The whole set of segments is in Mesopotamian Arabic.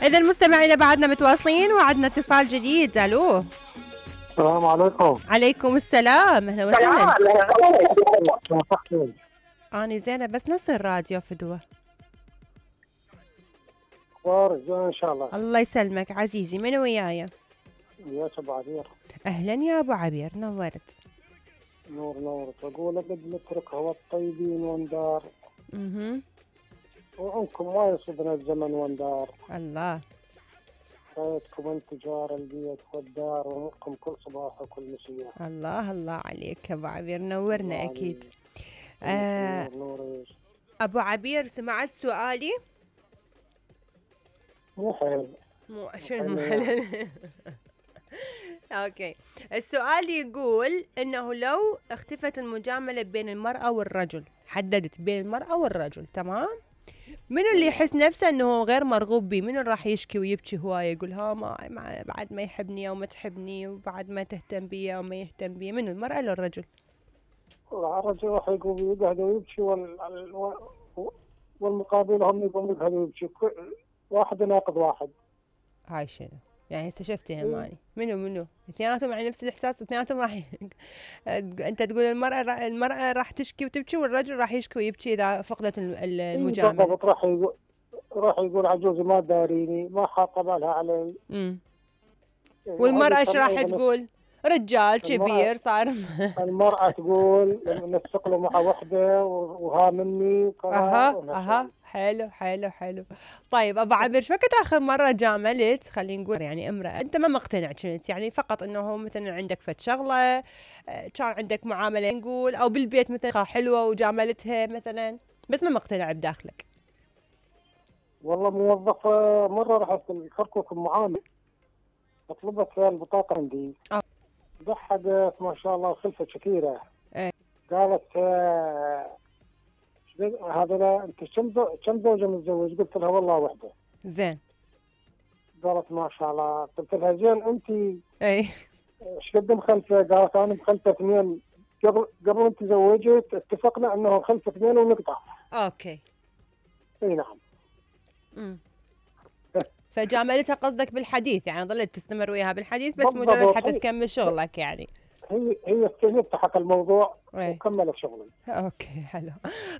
إذا مستمعينا بعدنا متواصلين وعدنا اتصال جديد. الو السلام عليكم. عليكم السلام، اهلا وسهلا. اني زينه بس نص الراديو فدوه. اخبارك زين ان شاء الله. الله يسلمك عزيزي، من وياي؟ وياك ابو عبير. اهلا يا ابو عبير، نورت. نور اقول لك نترك هو الطيبين وندار. وعنكم ما يصيبنا الزمن وندار. الله. خيركم انت جار البيت والدار واموركم كل صباح وكل مساء. الله الله عليك ابو عبير، نورنا اكيد. نور ابو عبير سمعت سؤالي؟ مو حلو. مو شنو حلو؟ اوكي، السؤال يقول انه لو اختفت المجامله بين المراه والرجل، حددت بين المراه والرجل، تمام؟ منو اللي يحس نفسه انه غير مرغوب به؟ منو راح يشكي ويبكي هوايه يقول ها ما بعد ما يحبني او ما تحبني وبعد ما تهتم بي او ما يهتم بي؟ منو، المراه ولا الرجل؟ الرجل راح يقوم يقعد ويبكي والمقابل هم يقوم يقعد ويبكي، واحد يناقض واحد. هاي شنو؟ يعني هسه شفت هماني منو اثنيناتهم يعني نفس الاحساس، اثنيناتهم راح انت تقول المراه راح تشكي وتبكي والرجل راح يشكي ويبكي اذا فقدت المجامله. بالضبط، راح يقول عجوزي ما داريني، ما حاطه بالها علي. والمراه ايش راح تقول؟ رجال كبير صار. المرأة تقول نسق له مع وحدة وها مني. اها حلو. طيب ابو عبير، شو وقت اخر مرة جاملت خلينا نقول يعني امرأة انت ما مقتنع كنت، يعني فقط انه مثلا عندك فد شغلة، كان عندك معاملة نقول او بالبيت مثلا حلوة وجاملتها مثلا بس ما مقتنع بداخلك؟ والله موظفة مرة رحت الكركوك المعامل، طلبت فيها البطاقة عندي. ضحكت ما شاء الله، خلفت شكيرة. قالت هذا انت كم زوجة متزوج؟ قلت لها والله وحدة. زين. قالت ما شاء الله. قلت لها زين انت ايش قد مخلفة؟ قالت انا مخلفة 2. قبل انت زوجت اتفقنا انه مخلفة 2 ونقطع. اوكي. اي نعم. فجاملتها قصدك بالحديث، يعني ظلت تستمر وياها بالحديث بس مجرد حتى تكمل شغلك يعني. هي استجبت حق الموضوع وكملت شغلي. اوكي حلو.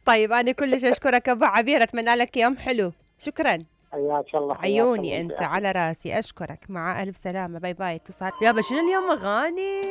طيب انا كلش اشكرك ابو عبير، اتمنى لك يوم حلو. شكرا. حياك الله. عيوني انت على راسي، اشكرك، مع الف سلامه، باي باي. اتصال يابا، شنو اليوم اغاني؟